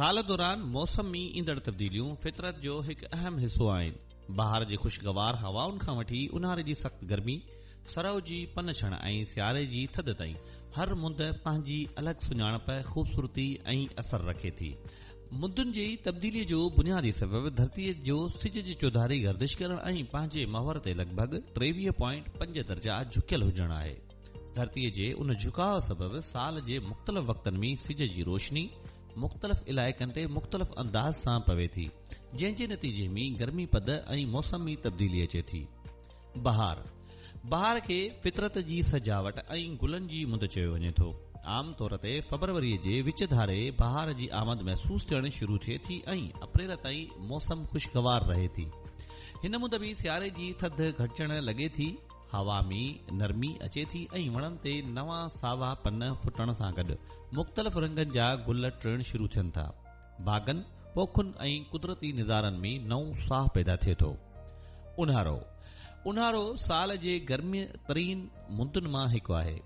سال دوران موسم ۾ ايندڙ تبديليون فطرت جو هڪ اهم حصو آهن. بهار جي خوشگوار هوائن کان وٺي اونهاري جي سخت گرمي، سرء جي پن ڇڻ ۽ سياري جي ٿڌ تائين هر مند پنهنجي الڳ سڃاڻپ، خوبصورتي ۽ اثر رکي ٿي. مندن جي تبديليء جو بنيادي سبب ڌرتيء جو سج جي چوڌاري گردش ڪرڻ ۽ پنهنجي محور تي لڳ ڀڳ 23.5 درجا جهڪيل هجڻ آهي. ڌرتيء جي ان جهڪاء سبب سال جي مختلف وقتن ۾ سج جي روشني مختلف علائقن تي مختلف انداز سان پوي ٿي، جنهن جي نتيجي ۾ گرمي پد ۽ موسم ۾ تبديلي اچي ٿي. بهار، بهار کي فطرت جي سجاوٽ ۽ گلن جي مند چيو وڃي ٿو. عام طور تي فبروريء جي وچ ڌاري بهار جي آمد محسوس ٿيڻ شروع ٿئي ٿي ۽ اپريل تائين موسم خوشگوار رهي ٿي. هن مند ۾ سياري جي ٿڌ گهٽجڻ لڳي ٿي، هوا ۾ نرمي اچي ٿي ۽ وڻن تي نوان ساوا پن ڦٽڻ سان گڏ مختلف رنگن جا گل ٽڙڻ شروع ٿين ٿا. باغن، پوکن ۽ قدرتي نظارن ۾ نئون ساهه پيدا ٿئي ٿو. اونهارو، اونهارو سال جي گرم ترين مندن مان هڪ آهي،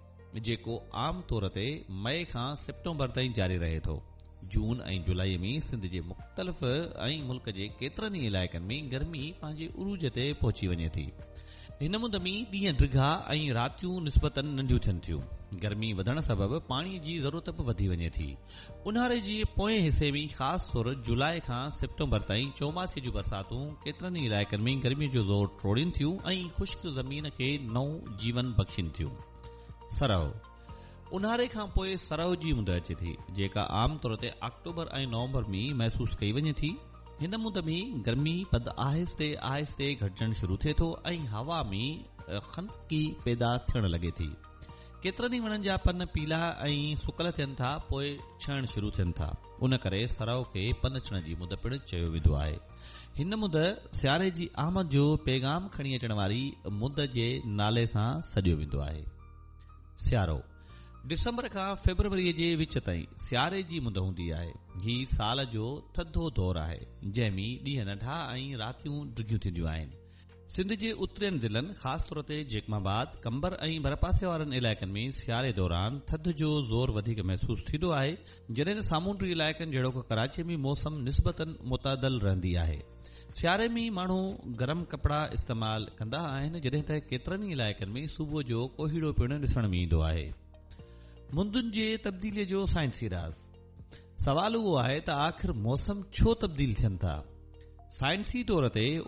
جيڪو عام طور تي مئي کان سيپٽمبر تائين جاري رهي ٿو. جون ۽ جولائي ۾ سنڌ جي مختلف ۽ ملڪ جي ڪيترن ئي علائقن ۾ گرمي پنهنجي عروج تي پهچي وڃي ٿي. هن مند ۾ ڏينهن ڊگها ۽ راتيون نسبتاً ننڍيون ٿين ٿيون. گرمي وڌڻ سبب پاڻي جي ضرورت به وڌي وڃي ٿي. اونهاري جي پوئين حصي ۾ خاص طور جولاء کان سيپٽمبر تائين چوماسي جون برساتون ڪيترن ئي علائقن ۾ گرمي جو زور ٽوڙين ٿيون ۽ خشڪ زمين کي نئون جيون بخشين ٿيون. سرء، اونهاري کان پوء سرء جي مند اچي ٿي، جيڪا عام طور تي آڪٽوبر ۽ نومبر ۾ محسوس ڪئي وڃي ٿي. هن مند ۾ گرمي پد آهستي آهستي گهٽجڻ شروع ٿئي ٿو ۽ هوا ۾ خنڪي پيدا ٿيڻ لڳي ٿي. ڪيترن ئي وڻن جا پن پيلا ۽ سڪل ٿين ٿا پوء ڇڻڻ شروع ٿين ٿا. ان ڪري سرء کي پن ڇڻ جي مند پڻ چيو ويندو آهي. هن مند سياري جي آمد جو پيغام کڻي اچڻ واري مند جي نالي سان سڏيو ويندو آهي. سيارو، ڊسمبر کان فيبروريء جي وچ تائين سياري جي مند هوندي آهي. هي سال جو ٿڌو دور آهي، جنهن ۾ ڏينهن ننڍا ۽ راتيون ڊگهيون ٿينديون آهن. سنڌ جي اترين ضلعن خاص طور تي جيڪب آباد، قمبر ۽ ڀرپاسي وارن علائقن ۾ سياري دوران ٿڌ جو زور وڌيڪ محسوس ٿيندو آهي، جڏهن ته سامونڊي علائقن جهڙوڪ ڪراچي ۾ موسم نسبتاً معتدل رهندي آهي. سياري ۾ ماڻهو گرم ڪپڙا استعمال ڪندا آهن، جڏهن ته ڪيترن ئي علائقن ۾ صبح جو ڪوهيڙو پڻ ڏسڻ ۾ ايندو آهي. مندن جي تبديلي جو سائنسي راز. سوال اهو آهي ته آخر موسم ڇو تبديل ٿين ٿا؟ سائنسي طور تي.